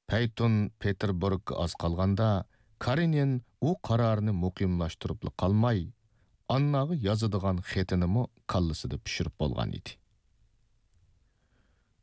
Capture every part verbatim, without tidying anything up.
پەيتۇن پېتېربۇرگقا ئاز قالغاندا، كارېنىن ئۇ قارارىنى مۇقىملاشتۇرۇپلا قالماي، ئانناغا يازىدىغان خېتىنىمۇ كاللىسىدا پىشۇرۇپ بولغان ئىدى.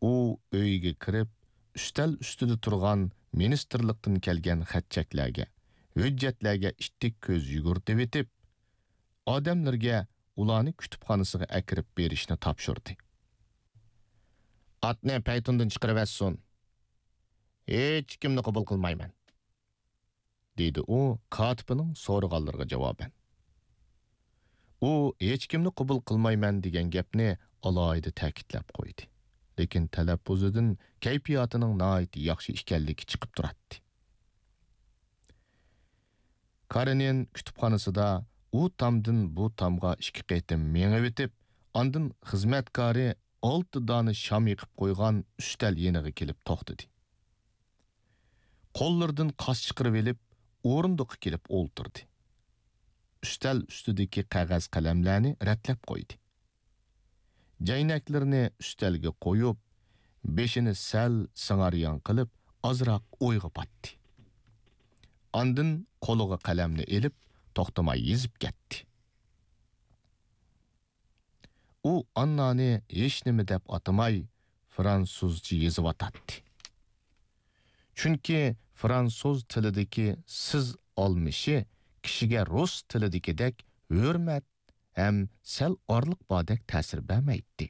ئۇ ئۆيىگە كىرىپ، ئۈستەل ئۈستىدە تۇرغان مىنىستىرلىقتىن كەلگەن خەت-چەكلەرگە، ھۆججەتلەرگە ئىتتىك كۆز يۈگۈرتۈۋېتىپ، ئادەملىرىگە ئۇلارنى كۇتۇپخانىسىغا ئەكىرىپ بېرىشنى تاپشۇردى. «ئاتنى پەيتۇندىن چىقىرىۋەتسۇن. ھېچكىمنى قوبۇل قىلمايمەن.» دېدى ئۇ كاتىپنىڭ سورىغانلىرىغا جاۋابەن. ئۇ ھېچكىمنى قوبۇل قىلمايمەن دېگەن گەپنى ئالاھىدە تەكىتلەپ قويدى. لېكىن تەلەپپۇزىدىن كەيپىياتىنىڭ ناھايىتى ياخشى ئىكەنلىكى چىقىپ تۇراتتى. كارېنىن كۇتۇپخانىسىدا ئۇ تامدىن بۇ تامغا ئىككى قېتىم مېڭىۋېتىپ، ئاندىن خىزمەتكارى ئالتە دانە شام يېقىپ قويغان ئۈستەل يېنىغا كېلىپ توختىدى. قوللىرىدىن قاس چىقىرىۋېلىپ، ئورۇندۇققا كېلىپ ئولتۇردى. ئۈستەل ئۈستىدىكى قەغەز قەلەملەرنى رەتلەپ قويدى. جەينەكلىرىنى ئۈستەلگە قويۇپ، بېشىنى سەل سىڭاريان قىلىپ، ئازراق ئويغا پاتتى. ئاندىن قولىغا قەلەمنى ئېلىپ، توختىماي يېزىپ كەتتى. ئۇ ئاننانى ھېچنېمە دەپ ئاتىماي، فرانسۇزچە يېزىۋاتاتتى. چۈنكى فرانسۇز تىلىدىكى سىز ئالمىشى كىشىگە رۇس تىلىدىكىدەك ھۆرمەت ھەم سەل ئارىلىق باردەك تەسىر بەرمەيتتى.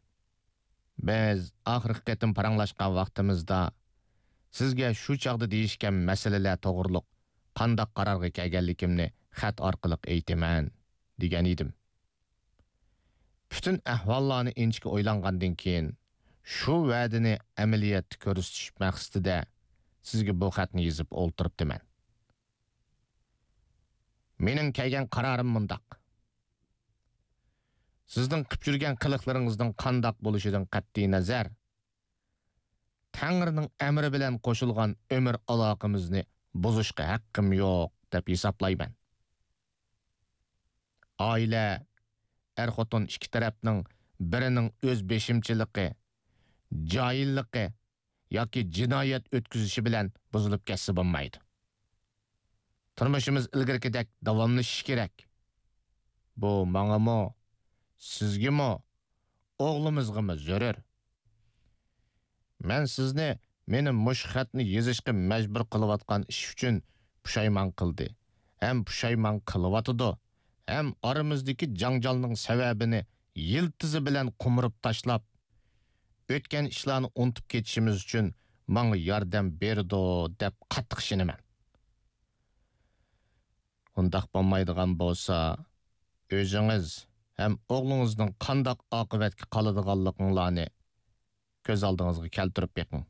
«بىز ئاخىرقى قېتىم پاراڭلاشقان ۋاقتىمىزدا، سىزگە شۇ چاغدا دېيىشكەن مەسىلىلەر توغرۇلۇق قانداق قارارغا كەلگەنلىكىمنى خەت ئارقىلىق ئېيتىمەن، دېگەن ئىدىم. پۈتۈن ئەھۋاللارنى ئىنچىكە ئويلانغاندىن كېيىن، شۇ ۋەدىنى ئەمەلىيەتتە كۆرسىتىش مەقسىتىدە سىزگە بۇ خەتنى يېزىپ ئولتۇرۇپتىمەن. مېنىڭ كەلگەن قارارىم مۇنداق. سىزنىڭ قىپ يۈرگەن قىلىقلىرىڭىزنىڭ قانداق بولۇشىدىن قەتئىينەزەر، تەڭرىنىڭ ئەمرى بىلەن قوشۇلغان ئۆمۈر ئالاقىمىزنى بۇزۇشقا ھەققىم يوق دەپ ھېسابلايمەن. ئائىلە، ئەر-خوتۇن ئىككى تەرەپنىڭ بىرىنىڭ ئۆز بېشىمچىلىقى، جاھىللىقى ياكى جىنايەت ئۆتكۈزۈشى بىلەن بۇزۇلۇپ كەتسە بولمايدۇ. تۇرمۇشىمىز ئىلگىرىكىدەك داۋاملىشىشى كېرەك. بۇ ماڭىمۇ، سىزگىمۇ، ئوغلىمىزغىمۇ زۆرۈر. مەن سىزنى مېنى مۇشۇ خەتنى يېزىشقا مەجبۇر قىلىۋاتقان ئىش ئۈچۈن پۇشايمان قىلدى ھەم پۇشايمان قىلىۋاتىدۇ ھەم ئارىمىزدىكى جاڭجالنىڭ سەۋەبىنى يىلتىزى بىلەن قومۇرۇپ تاشلاپ، ئۆتكەن ئىشلارنى ئۇنتۇپ كېتىشىمىز ئۈچۈن ماڭا ياردەم بېرىدۇ دەپ قاتتىق ئىشىنىمەن. ئۇنداق بولمايدىغان بولسا، ئۆزىڭىز ھەم ئوغلىڭىزنىڭ قانداق ئاقىۋەتكە قالىدىغانلىقىڭلارنى كۆز ئالدىڭىزغا كەلتۈرۈپ بېقىڭ.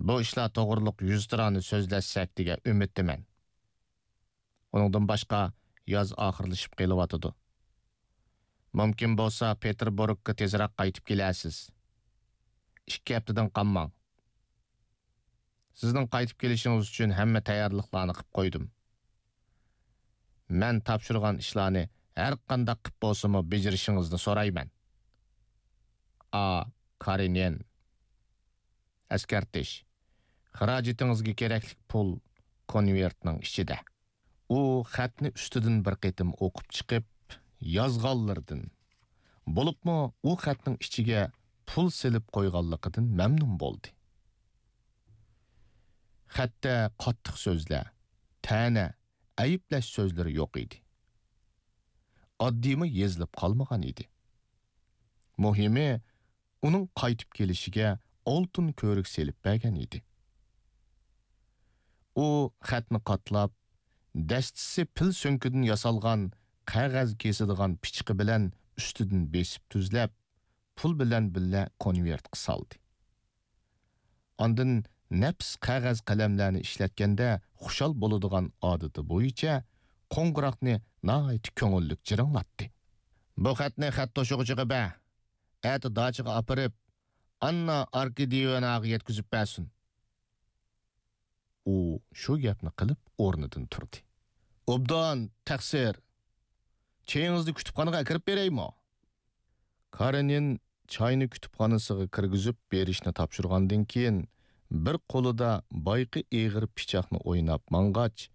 بۇ ئىشلار توغرۇلۇق يۈزتۇرانە سۆزلەشسەك دېگەن ئۈمىدتىمەن. ئۇنىڭدىن باشقا، ياز ئاخىرلىشىپ قېلىۋاتىدۇ. مۇمكىن بولسا، پېتېربۇرگقا تېزراق قايتىپ كېلەرسىز. ئىككى ھەپتىدىن قالماڭ. سىزنىڭ قايتىپ كېلىشىڭىز ئۈچۈن ھەممە تەييارلىقلارنى قىپ قويدۇم. مەن تاپشۇرغان ئىشلارنى ھەر قانداق قىپ بولسىمۇ بېجىرىشىڭىزنى سورايمەن. ئا. كارېنىن. ئەسكەرتىش: خىراجىتىڭىزگە كېرەكلىك پۇل كونۋېرتنىڭ ئىچىدە. ئۇ خەتنى ئۈستىدىن بىر قېتىم ئوقۇپ چىقىپ، يازغانلىرىدىن، بولۇپمۇ ئۇ خەتنىڭ ئىچىگە پۇل سېلىپ قويغانلىقىدىن مەمنۇن بولدى. خەتتە قاتتىق سۆزلەر، تەنە، ئەيىبلەش سۆزلىرى يوق ئىدى. ئاددىيمۇ يېزىلىپ قالمىغان ئىدى. مۇھىمى، ئۇنىڭ قايتىپ كېلىشىگە ئالتۇن كۆۋرۈك سېلىپ بەرگەن ئىدى. ئۇ خەتنى قاتلاپ، دەستىسى پىل سۆڭىكىدىن ياسالغان قەغەز كېسىدىغان پىچىقى بىلەن ئۈستىدىن بېسىپ تۈزلەپ، پۇل بىلەن بىللە كونۋېرتقا سالدى. ئاندىن نەپىس قەغەز قەلەملەرنى ئىشلەتكەندە خۇشال بولىدىغان ئادىتى بويىچە قوڭغۇراقنى ناھايىتى كۆڭۈللۈك جىرىڭلاتتى. بۇ خەتنى خەت توشۇغۇچىغا بەر. ئەتە داچىغا ئاپىرىپ، ئاننا ئاركادىيېۋناغا يەتكۈزۈپ بەرسۇن. ئۇ شۇ گەپنى قىلىپ ئورنىدىن تۇردى. ئوبدان، تەقسىر. چېيىڭىزنى كۇتۇپخانىغا ئەكىرىپ بېرەيمۇ؟ كارېنىن چاينى كۇتۇپخانىسىغا كىرگۈزۈپ بېرىشنى تاپشۇرغاندىن كېيىن، بىر قولىدا بايىقى ئېغىر پىچاقنى ئويناپ ماڭغاچ،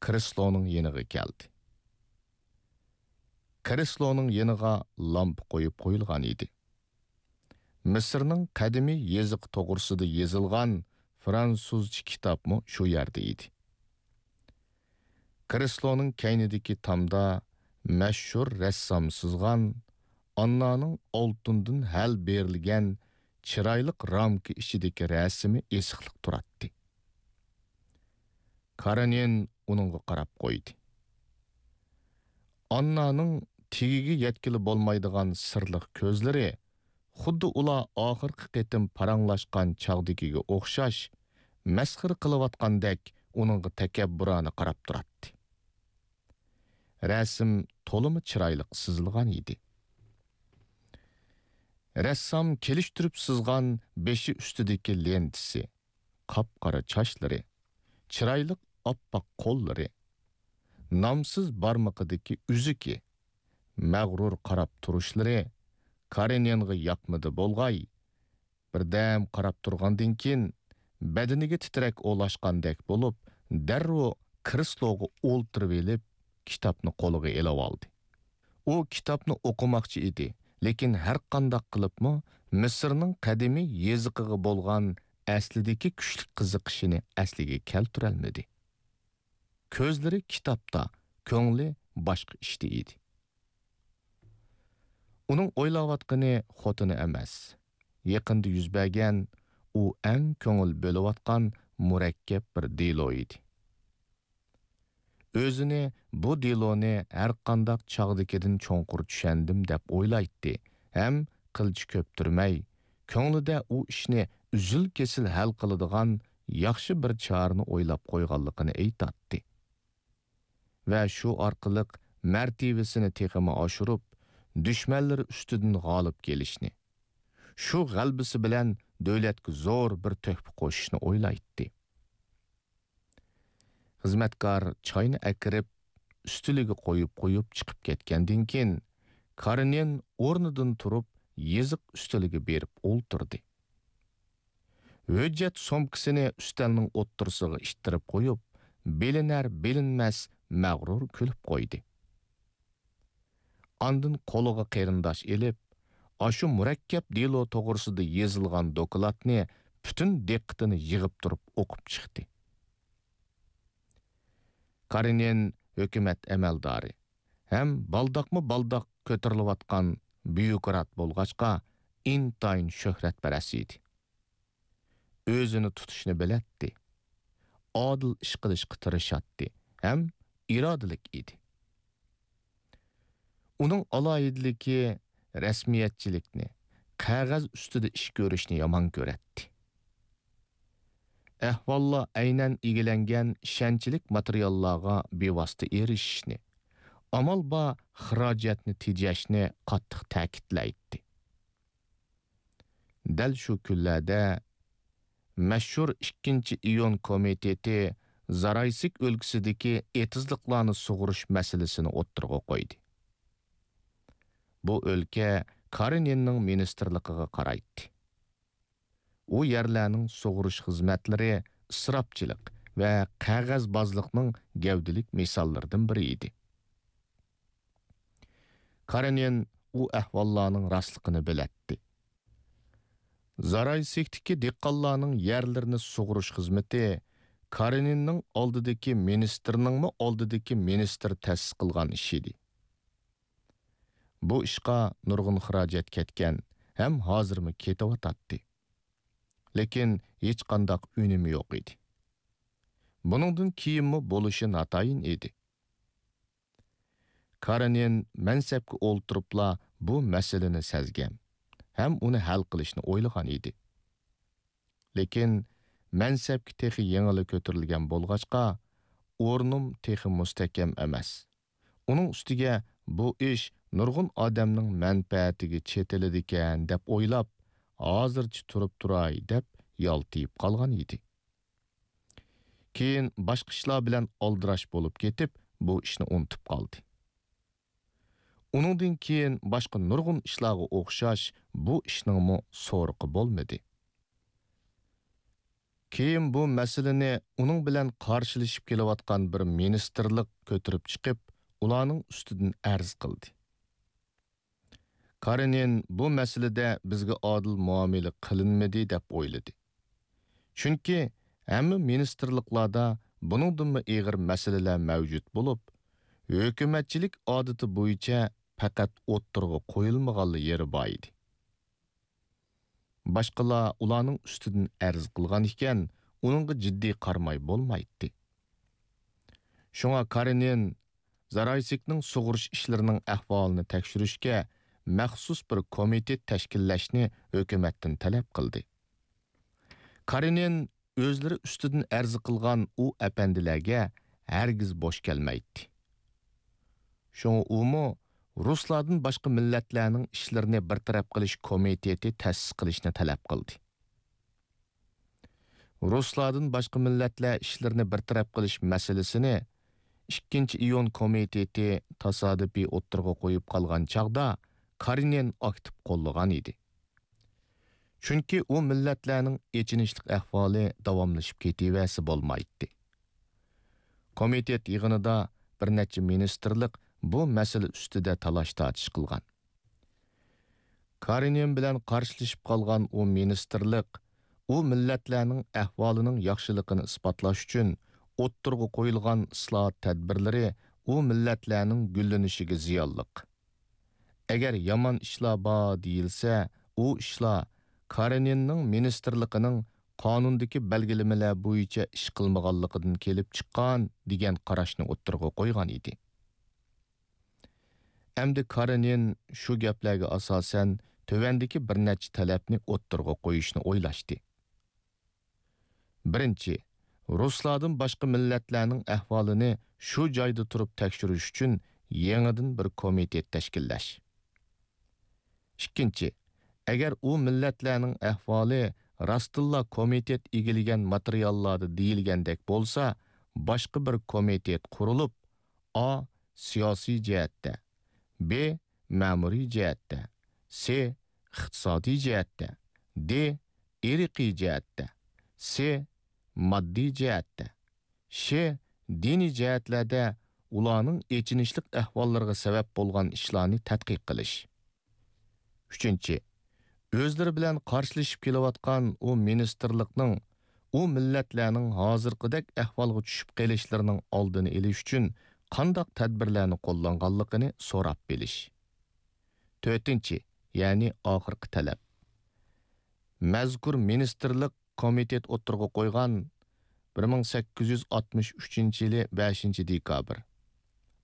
كرېسلونىڭ يېنىغا كەلدى. كرېسلونىڭ يېنىغا لامپا قويۇپ قويۇلغان ئىدى. مىسىرنىڭ قەدىمىي يېزىقى توغرىسىدا يېزىلغان فرانسۇزچە كىتابمۇ شۇ يەردە ئىدى. كرېسلونىڭ كەينىدىكى تامدا مەشھۇر رەسسام سىزغان ئاننانىڭ ئالتۇندىن ھەل بېرىلگەن چىرايلىق رامكا ئىچىدىكى رەسىمى ئېسىقلىق تۇراتتى. كارېنىن ئۇنىڭغا قاراپ قويدى. ئاننانىڭ تېگىگە يەتكىلى بولمايدىغان سىرلىق كۆزلىرى خۇددى ئۇلار ئاخىرقى قېتىم پاراڭلاشقان چاغدىكىگە ئوخشاش، مەسخىرە قىلىۋاتقاندەك ئۇنىڭغا تەكەببۇرانە قاراپ تۇراتتى. رەسىم تولىمۇ چىرايلىق سىزىلغان ئىدى. رەسسام كېلىشتۈرۈپ سىزغان بېشى ئۈستىدىكى لېنتىسى، قاپقارا چاچلىرى، چىرايلىق ئاپئاق قوللىرى، نامسىز بارمىقىدىكى ئۈزۈكى، مەغرۇر قاراپ تۇرۇشلىرى كارېنىنغا ياقمىدى بولغاي، بىردەم قاراپ تۇرغاندىن كېيىن، بەدىنىگە تىترەك ئولاشقاندەك بولۇپ، دەررۇ كرېسلوغا ئولتۇرۇۋېلىپ، كىتابنى قولىغا ئېلىۋالدى. ئۇ كىتابنى ئوقۇماقچى ئىدى، لېكىن ھەرقانداق قىلىپمۇ مىسىرنىڭ قەدىمىي يېزىقىغا بولغان ئەسلىدىكى كۈچلۈك قىزىقىشىنى ئەسلىگە كەلتۈرەلمىدى. كۆزلىرى كىتابتا، كۆڭلى باشقا ئىشتا ئىدى. ئۇنىڭ ئويلاۋاتقىنى خوتۇنى ئەمەس، يېقىندا يۈز بەرگەن، ئۇ ئەڭ كۆڭۈل بۆلۈۋاتقان مۇرەككەپ بىر دېلو ئىدى. ئۆزىنى بۇ دېلونى ھەرقانداق چاغدىكىدىن چوڭقۇر چۈشەندىم دەپ ئويلايتتى ھەم قىلچە كۆپتۈرمەي، كۆڭلىدە ئۇ ئىشنى ئۈزۈل-كېسىل ھەل قىلىدىغان ياخشى بىر چارىنى ئويلاپ قويغانلىقىنى ئېيتاتتى. ۋە شۇ ئارقىلىق مەرتىۋىسىنى تېخىمۇ ئاشۇرۇپ، دۈشمەنلىرى ئۈستىدىن غالىب كېلىشنى، شۇ غەلىبىسى بىلەن دۆلەتكە زور بىر تۆھپە قوشۇشنى ئويلايتتى. خىزمەتكار چاينى ئەكىرىپ، ئۈستىلىگە قويۇپ قويۇپ چىقىپ كەتكەندىن كېيىن، كارېنىن ئورنىدىن تۇرۇپ، يېزىق ئۈستىلىگە بېرىپ ئولتۇردى. ھۆججەت سومكىسىنى ئۈستەلنىڭ ئوتتۇرىسىغا ئىتتىرىپ قويۇپ، بىلىنەر-بىلىنمەس مەغرۇر كۈلۈپ قويدى. ئاندىن قولىغا قېرىنداش ئېلىپ، ئاشۇ مۇرەككەپ دېلو توغرىسىدا يېزىلغان دوكلاتنى پۈتۈن دىققىتىنى يىغىپ تۇرۇپ ئوقۇپ چىقتى. كارېنىن ھۆكۈمەت ئەمەلدارى ھەم بالداقمۇ بالداق كۆتۈرۈلۈۋاتقان بيۇروكرات بولغاچقا، ئىنتايىن شۆھرەتپەرەس ئىدى. ئۆزىنى تۇتۇشنى بىلەتتى. ئادىل ئىش قىلىشقا تىرىشاتتى ھەم ئىرادىلىك ئىدى. ئۇنىڭ ئالاھىدىلىكى رەسمىيەتچىلىكنى، قەغەز ئۈستىدە ئىش كۆرۈشنى يامان كۆرەتتى. ئەھۋاللار ئەينەن ئىگىلەنگەن ئىشەنچلىك ماتېرىياللارغا بىۋاسىتە ئېرىشىشنى، ئامال بار خىراجەتنى تېجەشنى قاتتىق تەكىتلەيتتى. دەل شۇ كۈنلەردە مەشھۇر ئىككىنچى ئىيۇن كومىتېتى زارايسك ئۆلكىسىدىكى ئېتىزلىقلارنى سۇغۇرۇش مەسىلىسىنى ئوتتۇرىغا قويدى. بۇ ئۆلكە كارېنىننىڭ مىنىستىرلىقىغا قارايتتى. ئۇ يەرلەرنىڭ سۇغۇرۇش خىزمەتلىرى ئىسراپچىلىق ۋە قەغەزبازلىقنىڭ گەۋدىلىك مىساللىرىدىن بىرى ئىدى. كارېنىن ئۇ ئەھۋاللارنىڭ راستلىقىنى بىلەتتى. زارايسكتىكى دېھقانلارنىڭ يەرلىرىنى سۇغۇرۇش خىزمىتى كارېنىننىڭ ئالدىدىكى مىنىستىرنىڭمۇ ئالدىدىكى مىنىستىر تەسىس قىلغان ئىشى ئىدى. بۇ ئىشقا نۇرغۇن خىراجەت كەتكەن ھەم ھازىرمۇ كېتىۋاتاتتى. لېكىن ھېچقانداق ئۈنۈمى يوق ئىدى. بۇنىڭدىن كېيىنمۇ بولۇشى ناتايىن ئىدى. كارېنىن مەنسەپكە ئولتۇرۇپلا بۇ مەسىلىنى سەزگەن ھەم ئۇنى ھەل قىلىشنى ئويلىغان ئىدى. لېكىن مەنسەپكە تېخى يېڭىلا كۆتۈرۈلگەن بولغاچقا، ئورنۇم تېخى مۇستەھكەم ئەمەس. ئۇنىڭ ئۈستىگە بۇ ئىش نۇرغۇن ئادەمنىڭ مەنپەئەتىگە چېتىلىدىكەن دەپ ئويلاپ، ھازىرچە تۇرۇپ تۇراي دەپ يالتىيىپ قالغان ئىدى. كېيىن باشقا ئىشلار بىلەن ئالدىراش بولۇپ كېتىپ، بۇ ئىشنى ئۇنتۇپ قالدى. ئۇنىڭدىن كېيىن باشقا نۇرغۇن ئىشلارغا ئوخشاش بۇ ئىشنىڭمۇ سورىقى بولمىدى. كېيىن بۇ مەسىلىنى ئۇنىڭ بىلەن قارشىلىشىپ كېلىۋاتقان بىر مىنىستىرلىق كۆتۈرۈپ چىقىپ، ئۇلارنىڭ ئۈستىدىن ئەرز قىلدى. كارېنىن بۇ مەسىلىدە بىزگە ئادىل مۇئامىلە قىلىنمىدى دەپ ئويلىدى. چۈنكى ھەممە مىنىستىرلىقلاردا بۇنىڭدىنمۇ ئېغىر مەسىلىلەر مەۋجۇت بولۇپ، ھۆكۈمەتچىلىك ئادىتى بويىچە پەقەت ئوتتۇرىغا قويۇلمىغانلا يېرى بار ئىدى. باشقىلار ئۇلارنىڭ ئۈستىدىن ئەرز قىلغان ئىكەن، ئۇنىڭغا جىددىي قارىماي بولمايتتى. شۇڭا كارېنىن زارايسكنىڭ سۇغىرىش ئىشلىرىنىڭ ئەھۋالىنى تەكشۈرۈشكە مەخسۇس بىر كومىتېت تەشكىللەشنى ھۆكۈمەتتىن تەلەپ قىلدى. كارېنىن ئۆزلىرى ئۈستىدىن ئەرز قىلغان ئۇ ئەپەندىلەرگە ھەرگىز بوش كەلمەيتتى. شۇڭا ئۇمۇ رۇسلاردىن باشقا مىللەتلەرنىڭ ئىشلىرىنى بىر تەرەپ قىلىش كومىتېتى تەسىس قىلىشنى تەلەپ قىلدى. رۇسلاردىن باشقا مىللەتلەر ئىشلىرىنى بىر تەرەپ قىلىش مەسىلىسىنى ئىككىنچى ئىيۇن كومىتېتى تاسادىپىي ئوتتۇرىغا قويۇپ قالغان چاغدا كارېنىن ئاكتىپ قوللىغان ئىدى. چۈنكى ئۇ مىللەتلەرنىڭ ئېچىنىشلىق ئەھۋالى داۋاملىشىپ كېتىۋەرسە بولمايتتى. كومىتېت يىغىنىدا بىر نەچچە مىنىستىرلىق بۇ مەسىلە ئۈستىدە تالاش-تارتىش قىلغان. كارېنىن بىلەن قارشىلىشىپ قالغان ئۇ مىنىستىرلىق ئۇ مىللەتلەرنىڭ ئەھۋالىنىڭ ياخشىلىقىنى ئىسپاتلاش ئۈچۈن ئوتتۇرىغا قويۇلغان ئىسلاھات تەدبىرلىرى ئۇ مىللەتلەرنىڭ گۈللىنىشىگە زىيانلىق. ئەگەر يامان ئىشلار بار دېيىلسە، ئۇ ئىشلار كارېنىننىڭ مىنىستىرلىقىنىڭ قانۇندىكى بەلگىلىمىلەر بويىچە ئىش قىلمىغانلىقىدىن كېلىپ چىققان، دېگەن قاراشنى ئوتتۇرىغا قويغان ئىدى. ئەمدى كارېنىن شۇ گەپلەرگە ئاساسەن تۆۋەندىكى بىر نەچچە تەلەپنى ئوتتۇرىغا قويۇشنى ئويلاشتى. بىرىنچى، رۇسلاردىن باشقا مىللەتلەرنىڭ ئەھۋالىنى شۇ جايدا تۇرۇپ تەكشۈرۈش ئۈچۈن يېڭىدىن بىر كومىتېت تەشكىللەش. ئىككىنچى، ئەگەر ئۇ مىللەتلەرنىڭ ئەھۋالى راستتىنلا كومىتېت ئىگىلىگەن ماتېرىياللاردا دېيىلگەندەك بولسا، باشقا بىر كومىتېت قۇرۇلۇپ، ئا، سىياسىي جەھەتتە، ب، مەمۇرىي جەھەتتە، س، ئىقتىسادىي جەھەتتە، د، ئىرقىي جەھەتتە، س، ماددىي جەھەتتە، ش، دىنىي جەھەتلەردە ئۇلارنىڭ ئېچىنىشلىق ئەھۋاللىرىغا سەۋەب بولغان ئىشلارنى تەتقىق قىلىش. ئۈچىنچى، ئۆزلىرى بىلەن قارشىلىشىپ كېلىۋاتقان ئۇ مىنىستىرلىقنىڭ ئۇ مىللەتلەرنىڭ ھازىرقىدەك ئەھۋالغا چۈشۈپ قېلىشلىرىنىڭ ئالدىنى ئېلىش ئۈچۈن قانداق تەدبىرلەرنى قوللانغانلىقىنى سوراپ بىلىش. تۆتىنچى، يەنى ئاخىرقى تەلەپ. مەزكۇر مىنىستىرلىق كومىتېت ئوتتۇرىغا قويغان بىر مىڭ سەككىز يۈز ئاتمىش ئۈچىنچى يىلى بەشىنچى دېكابىر،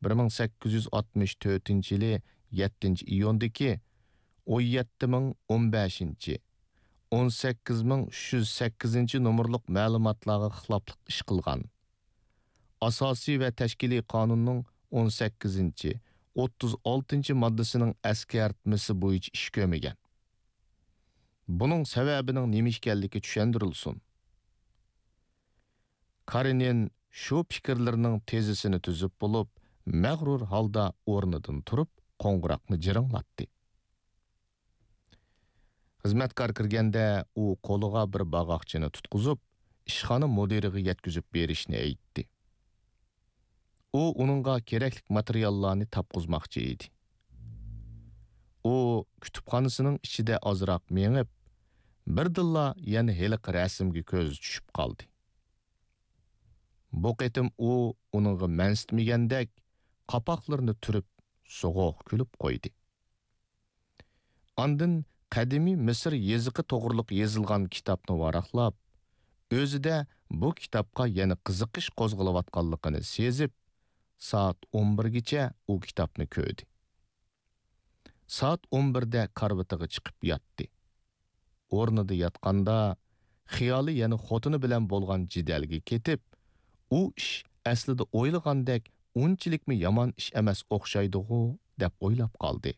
بىر مىڭ سەككىز يۈز ئاتمىش تۆتىنچى يىلى يەتتىنچى ئىيۇندىكى ئون يەتتە مىڭ ئون بەشىنچى، ئون سەككىز مىڭ ئۈچ يۈز سەككىزىنچى نومۇرلۇق مەلۇماتلارغا خىلاپلىق ئىش قىلغان، ئاساسىي ۋە تەشكىلىي قانۇننىڭ ئون سەككىزىنچى، ئوتتۇز ئالتىنچى ماددىسىنىڭ ئەسكەرتمىسى بويىچە ئىش كۆرمىگەن. بۇنىڭ سەۋەبىنىڭ نېمە ئىكەنلىكى چۈشەندۈرۈلسۇن. كارېنىن شۇ پىكىرلىرىنىڭ تېزىسىنى تۈزۈپ بولۇپ، مەغرۇر ھالدا ئورنىدىن تۇرۇپ، قوڭغۇراقنى جىرىڭلاتتى. خىزمەتكار كىرگەندە، ئۇ قولىغا بىر باغاقچىنى تۇتقۇزۇپ، ئىشخانا مۇدىرىغا يەتكۈزۈپ بېرىشنى ئېيتتى. ئۇ ئۇنىڭغا كېرەكلىك ماتېرىياللارنى تاپقۇزماقچى ئىدى. ئۇ كۇتۇپخانىسىنىڭ ئىچىدە ئازراق مېڭىپ، بىردىنلا يەنە ھېلىقى رەسىمگە كۆزى چۈشۈپ قالدى. بۇ قېتىم ئۇ ئۇنىڭغا مەنسىتمىگەندەك، قاپاقلىرىنى تۈرۈپ، سوغۇق كۈلۈپ قويدى. ئاندىن قەدىمىي مىسىر يېزىقى توغرۇلۇق يېزىلغان كىتابنى ۋاراقلاپ، ئۆزىدە بۇ كىتابقا يەنە قىزىقىش قوزغىلىۋاتقانلىقىنى سېزىپ، سائەت ئون بىرگىچە ئۇ كىتابنى كۆردى. سائەت ئون بىردە كارىۋىتىغا چىقىپ ياتتى. ئورنىدا ياتقاندا، خىيالى يەنە خوتۇنى بىلەن بولغان جېدەلگە كېتىپ، ئۇ ئىش ئەسلىدە ئويلىغاندەك ئۇنچىلىكمۇ يامان ئىش ئەمەس ئوخشايدىغۇ، دەپ ئويلاپ قالدى.